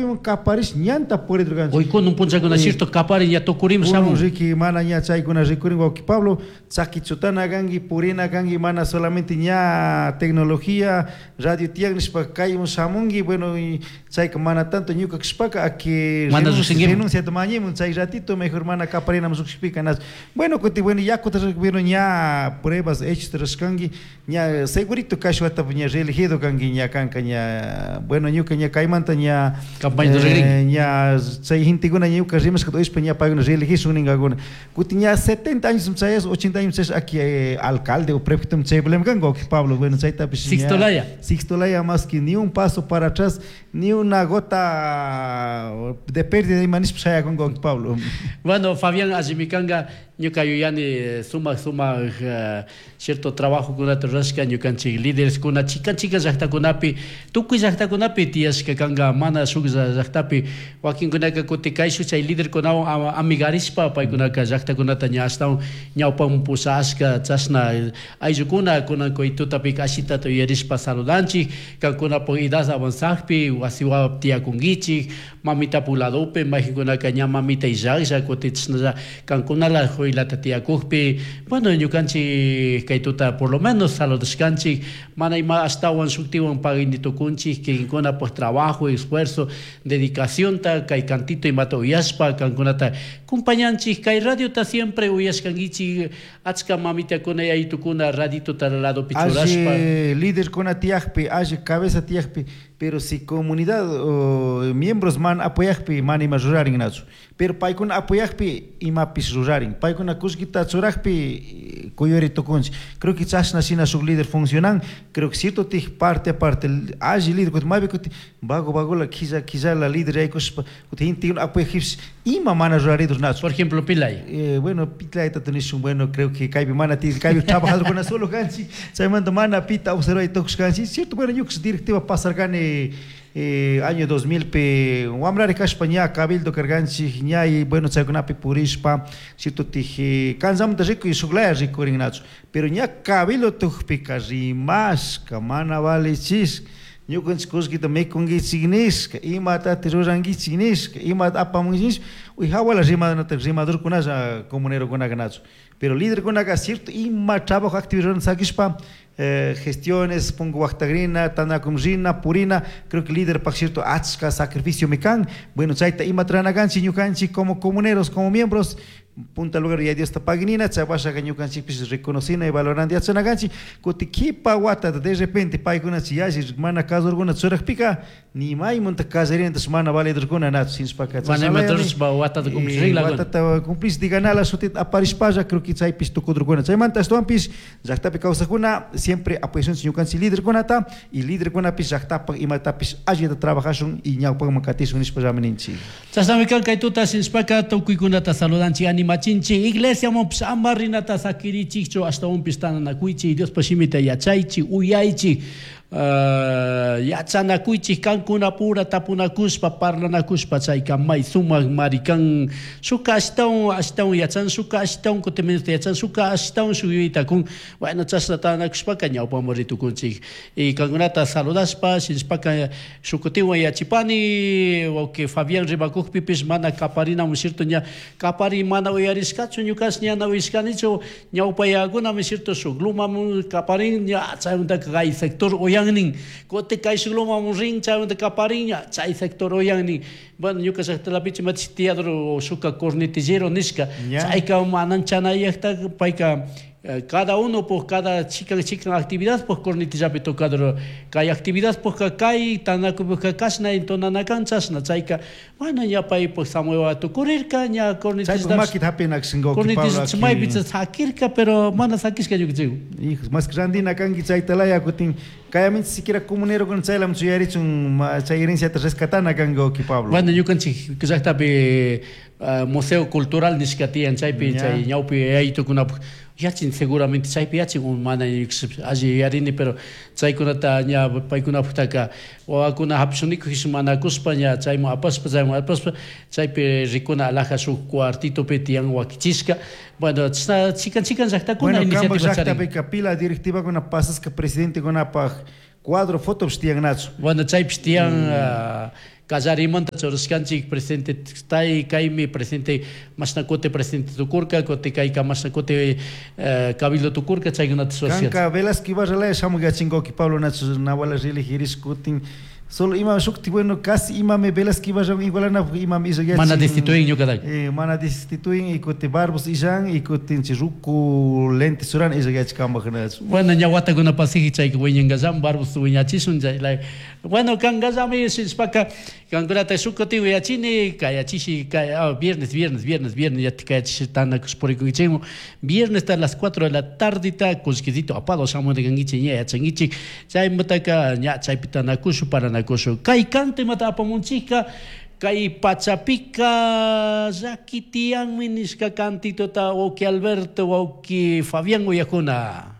Tantanakuyman kaparish ñanta puridurkanchik. Hoy kunan punchakuna cierto kaparin ña tukurim Kunan shamun. riki mana ña chaykuna rikurin wawki Pablo, chaki chutana kanki, purina kanki, mana solamente ña tecnología, radio tiyan nishpa kayman shamunki, bueno, y chayka mana tanto ñuka kashpaka aki Mana llukshinkiman. renunciata mañimun chay ratito mejor mana kaparinaman llukshikpika na. Bueno, kuti bueno yakuta bueno ña pruebas hechos rurashkanki, ña segurito kashwata ña reelegido kanki ña kanka ña bueno ñuka ña kaymanta ña Campaña ruragrinki. ña chay gentekuna ñuka rimashkata uyashpa ña paykuna reelegishun ninkakuna. Kuti ña 70 años chayas 80 años chayas aki alcalde o prefecto chay problema kanka wawki Pablo, bueno chaytapish ña Sixto Laya. Sixto Laya más que ni un paso para atrás, ni una gota de pérdida ima nishpa shayakunka wawki Pablo. Bueno, Fabián allimi kanka ñuka yuyani sumak sumak cierto trabajokunata rurashka ñukanchik lídereskuna chikan chikan llaktakunapi tukuy llaktakunapi tiyashka kanka mana shuk llaktapi wakinkunaka kutin kayshuk chay liderkunawan amigarishpa paykunaka llaktakunata ña ashtawan ñawpaman pushashka chashna ayllukuna kunan kay tutapika ashitata yuyarishpa saludanchik kankunapuk edad avanzakpi wasi wawapi tiyakunkichik mamitapuk ladopi mayjinkunaka ña mamita illaklla kutin chashnalla kankunala juylata tiyakukpi bueno ñukanchik kay tuta por lo menos saludashkanchik mana ima ashtawan shuktiwan pagani tukunchik kikinkunapuk trabajo, esfuerzo, dedicacionta kay cantito imata uyashpa kankunata compañanchik kay radiota siempre uyashkankichik achka mamitakuna yayitukuna raditota ladopi churashpa. Alli liderkuna tiyakpi, alli cabeza tiyakpi, pero si comunidad o miembros mana apoyakpi mana ima rurarinnachu. Pero paykuna apoyakpi imapish rurarin. Paykuna kullkita churakpi kuyuri tukunchik. Creo que chashna shina shuk líder funcionan. Creo que cierto tij parte aparte alli líder kuti maypi kuti vago vagola killa killala líder yaykushpa kuti gentekuna apoyakpish ima mana ruraridur nachu. Por ejemplo, Pilay. Bueno, Pilayta nishun, bueno, creo que kaypi mana ti kaypi trabajadorkuna solo kanchik, chaymanta mana pita observay tukushkanchik. Cierto, bueno, ñuka directiva pasarkani año 2000 pi wambrari kashpa ña cabildo karkanchik ña y bueno chaykunapi purishpa cierto tij kanllamanta rikuy shuklaya rikurinnachu pero ña cabildo tukpika rimashka mana valichishka ñukanchik kullkita mikunkichik nishka imatati rurankichik nishka imata apamunkichik nishpa uy hawala rimanata rimadurkunalla comunerokunaka nachu pero liderkunaka cierto ima trabajo actividad rurana sakishpa gestiones punku waktakrina tantanakumun purina creo que liderpak cierto achka sacrificiomi kan bueno chayta imata rurana kanchik ñukanchik como comuneros como miembros punta lugar ya Diosta paginina chay washaka ñukanchikpish reconocina y valorando yachana kanchik kuti kipa watata de repente paykunachi yalli mana kasurkuna churakpika ni maymunta kallarinatash mana validurkuna nachu shinashpaka Mana imata rurashpa watata cumplishrinlakuna. Watata cumplish diganala shutita aparishpalla creo que chaypish tukudurkuna chaymanta ashtawanpish llaktapi kawsakuna siempre apoyashunchik ñukanchik liderkunata y liderkunapish llaktapak imatapish allita trabajashun y ñawpakman katishun nishpallami ninchik. Chashnami kan kay tuta shinashpaka tukuykunata saludanchik animachinchik iglesiamanpish ama rinata sakirichikchu ashtawanpish tananakuychik Diospa shimita yachaychik uyaychik yachanakuychik kankunapura tapunakushpa parlanakushpa chayka may sumak mari kan shukka ashtawan ashtawan yachan shukka ashtawan kutin menos yachan shukka ashtawan shuk yuyayta kun bueno chashna tantanakushpaka ñawpaman ritukunchik y kankunata saludashpa shinashpaka shuk kutinwan yachipani wawki Fabián rimakukpipish mana kaparinamun cierto ña kapari mana uyarishkachu ñukash ñana uyashkanichu ñawpa yakunami cierto shuk lumamun kaparin ña chaymantaka kay sector uyannin kutin kay shuk lumamun rin chaymanta kaparin ña chay sector uyannin bueno ñuka llaqtalapichu imatashi tiyador shuka cornetillero nishka chayka manchanayakta payka cada uno pues cada chikan chikan actividad pues cornetillapi tocador kay actividad pues kay tanakupika kashna entonanakan chashna chayka bueno ña pay pues samuel tukurirka ña Chaypuk makita hapinakashin wawki Pablo cornetilla maypi sakirka pero mana sakishka ñukanchik. Hijos, más que randina kanki chaytalaya kutin kayaminchik siquiera comunerokuna chaylaman chuyarichun chay herenciata rescatana kanki wawki Pablo. Bueno ñukanchik llaktapi museo cultural nishka tiyan chaypi chay ñawpi yayitukunapuk yachin seguramente chaypi yachin mana alli yuyarini pero chaykunata ña paykunapuktaka wawakuna hapishunikujish manakushpa ña chayman apashpa chayman apashpa chaypi rikuna alhaja shuk cuartitopi tiyan wakichishka bueno chashna chikan chikan llaktakuna Bueno, kampak iniciativa charin. llaktapica pila directivakuna pasashka presidentekunapaj cuadro fotopish tiyanachu. Bueno chaypish tiyan. Kallarimanta churashkanchik presidente tay kaymi presidente mashna kuti presidente tukurka, kuti kayka mashna kuti cabildo tukurka, chaykunata churashkanchik. Kanka Velasco Ibarra laya shamuk yachinkoki Pablo Nacho Nahuala reelegirish kutin solo ima shukti bueno casi imami Velasco Ibarra igualanapuk imami illan Mana destituin ñukataka. Mana destituin y kuti Barbos illan y kutin chay ruku lente churana illan yachik nachu. Bueno, ña watakuna pasiji chayka wiñankallami Barbos wiñachishun chay bueno kankallami shishpaka kankunata shuk kutin uyachini kayachishi kay viernes viernes viernes viernes yatik kayachishi tanakush purikunkichikmun viernes a las 4 de la tardeta kullkisito apado shamuna kankichik ña yachankichik chaymantaka ña chaypi tanakushu paranakushu kay kantimata apamunchikka kay pachapika llaki tiyanmi nishka kantituta wawki Alberto wawki Fabián uyakuna.